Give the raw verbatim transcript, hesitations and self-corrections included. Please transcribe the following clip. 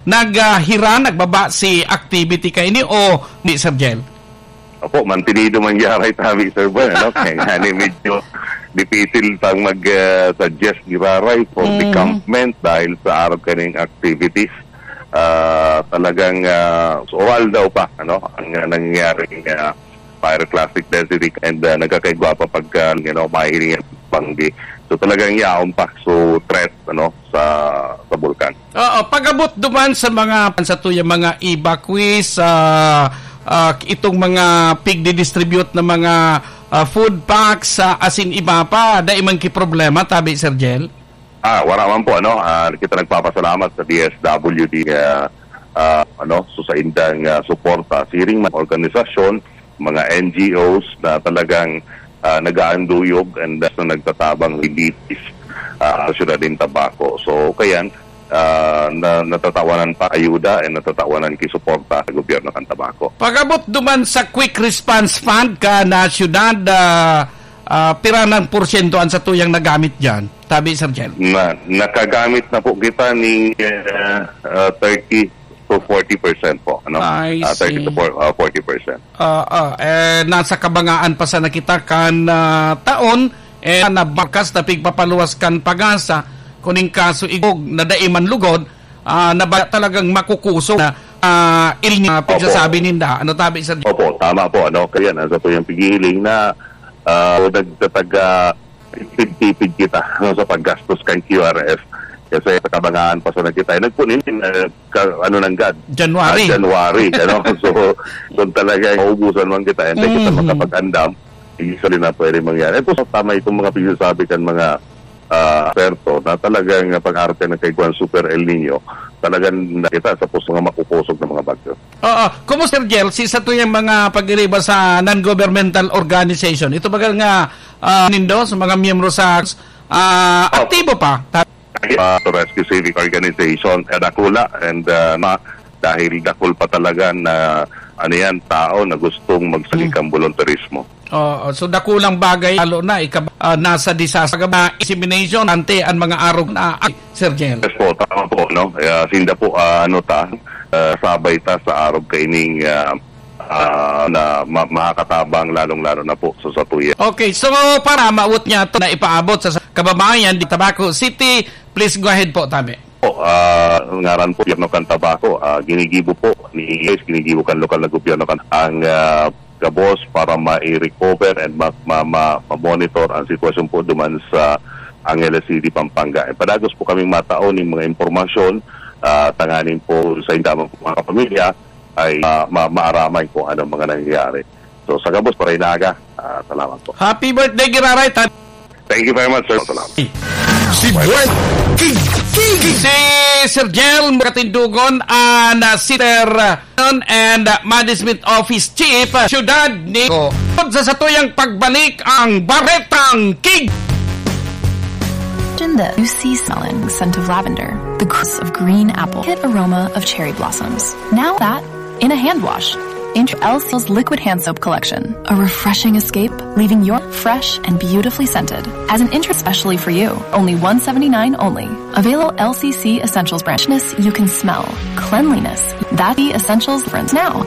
Nag, ah, hira, nagbaba si activity kaini o di, Sir Jel? Opo, mantenido man giraray tabi, Sir Bon, ano? Kaya nga ni medyo dipisil pang mag, ah, suggest giraray for Mm. decampment dahil sa arog kaning activities. Ah, talagang, ah, oral daw pa, ano, ang, ah, nangyayaring, ah, pyroclastic density and, ah, nagkakaigwa pa pagka, you know, mahihiling ang banggi. So, talagang yaon pa. So, threat, ano, sa, sa bulkan. Oo, pag-abot duman sa mga, sa tuyang mga evacuees, ah, ah, itong mga pigdidistribute na mga, ah, food packs, ah, asin iba pa, dai man ki problema, tabi, Sir Jel? Ah, wala man po, ano, ah, kita nagpapasalamat sa D S W D, ah, ah, ano, so sa indang, ah, suporta. Siring man organisasyon, mga N G Os na talagang, ah, nag-aanduyog and, ah, na nagtatabang relief, ah, sa syudad ng Tabaco. So, kaya, ah, na, natatawanan pa ayuda and natatawanan ki suporta sa gobyerno kan Tabaco. Pag-abot duman sa Quick Response Fund kan syudad, ah, ah, pira nang porsyento an satuyang nagamit diyan? Tabi, Sir Jel. Na, nakagamit na po kita ni, eh, ah, thirty to forty percent po, ano? I Ah, thirty to see. four, ah, forty percent. Ah, ah, eh, nasa kabangaan pa sana kita kan, ah, taon, eh, nabakas na pigpapaluwas kan PAGASA, kuning kaso igog na dai man lugod, ah, na ba talagang makukusog na, ah, El Niño, Opo. pagsasabi ninda. Ano tabi, Sir? Opo, tama po, ano? Kaya nasa po yung pighihiling na, ah, nagtataga tipid-tipid kita, no, sa paggastos kan Q R F. Kasi sa kabangaan pa sana kita. Eh, nagpunin, eh, ka-, ano nanggad? January. Ah, January, ano? So, kung talaga maubusan man kita, hindi kita Mhm. makapag-andam, hindi sa na pwede mangyari. Ito, tama itong mga pinagsasabi kan mga, ah, eksperto na talagang pag-arte ng kaigwan, Super El Niño, talagang nakita sa pus-, mga makukusog na mga bagyo. Oo. Kumusta, Sir Jel, si sa tuyang mga pag-iriba sa non-governmental organization? Ito baga nga, ah, nindo sa mga miyembro sa, ah, Opo. aktibo pa? Ah, to Rescue Civic Organization, eh, dakula, and, ah, ma-, dahil dakul pa talaga na, ano yan, tao na gustong magsali Mm. kan volunteerismo. Oo, so dakulang bagay, lalo na ika-, ah, nasa disaster, mga insemination, ante ang mga arog na, ay, Sir Jel. Yes po, tama po, no? Kaya sinda po, ah, ano ta, ah, sabay ta sa arog kaining, ah, ah, na ma-, makakatabang, lalong-lalo na po sa satuya. Okay, so para maawot niya to na ipaabot sa, sa kababayan di Tabaco City, please go ahead po, tabi. Po, ah, ngaran po, Gobyerno kan Tabaco, ah, ginigibo po ni, ginigibo kan lokal na gobyerno kan ang, ah, gabos para ma-recover and ma-, ma-, ma-, ma-monitor ang sitwasyon po duman sa Angeles City, Pampanga. E padagos po kaming matao ning mga impormasyon, ah, tanganing po sa indamang mga kapamilya ay, ah, ma-, maaramay kung anong mga nangyayari. So, sa gabos, para inaga, ah, salamat po. Happy birthday, Giraray. Tan- Thank you very much, sir. Salamat. Si Dwight King. King. Si Sir Jel Katindugon, ah, na Sister, ah, and, ah, Management Office Chief, ah, Siyudad ni Tabaco. Sa satuyang pagbalik ang Baretang King. Imagine this. You see smelling scent of lavender, the crisp of green apple, hit aroma of cherry blossoms. Now that in a hand wash. Int- L C's liquid hand soap collection. A refreshing escape, leaving your fresh and beautifully scented. As an interest specially for you. Only one seventy-nine only. Available L C C Essentials brand. Freshness you can smell. Cleanliness. That's the Essentials difference now.